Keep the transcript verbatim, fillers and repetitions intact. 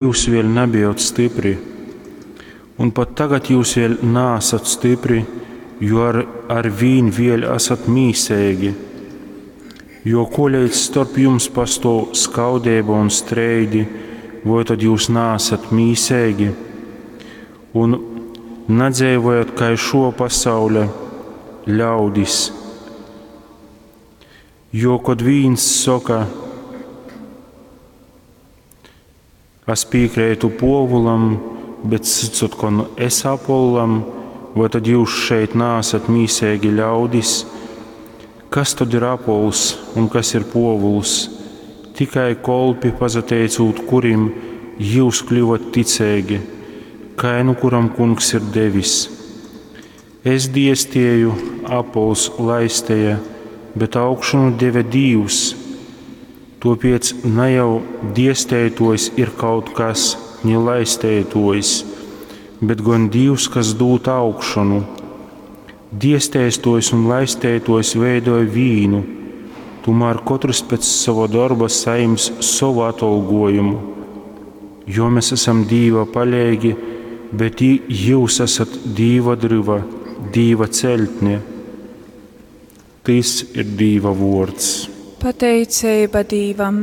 Jūs vēļ nabejot stypri, un pat tagad jūs vēļ naasat stypri, jo ar, arvīn vēļ asat mīseigi. Jo koleidz storp jums pastōv skaudeiba un streidi, voi tod jūs naasat mīseigi? Un nadzeivojat kai šō pasauļa ļaudis. Jo, kod vīns soka, es pīkreitu Pōvulam, bet cyts otkon es Apollam, voi tad jūs šeit naasat mīseigi ļaudis? Kas tod ir Apols un kas ir Pōvuls? Tikai kolpi, pasateicūt kurim jūs kļuvot ticeigi, kai nu kuram Kungs ir devis. Es diestēju, Apols laisteja, bet augšanu deve Dīvs. Tāpēc ne jau diestētojs ir kaut kas, ni laistētojs, bet gan Dīvs, kas dūd augšanu. Diestēstojs un laistētojs veidoja vīnu, tomēr katrs pēc sava darba saņems savu atalgojumu. Jo mēs esam Dīva palīgi, bet jūs esat Dīva dryva, Dīva celtne. Tys ir Dīva vōrds. Pateiceiba Dīvam.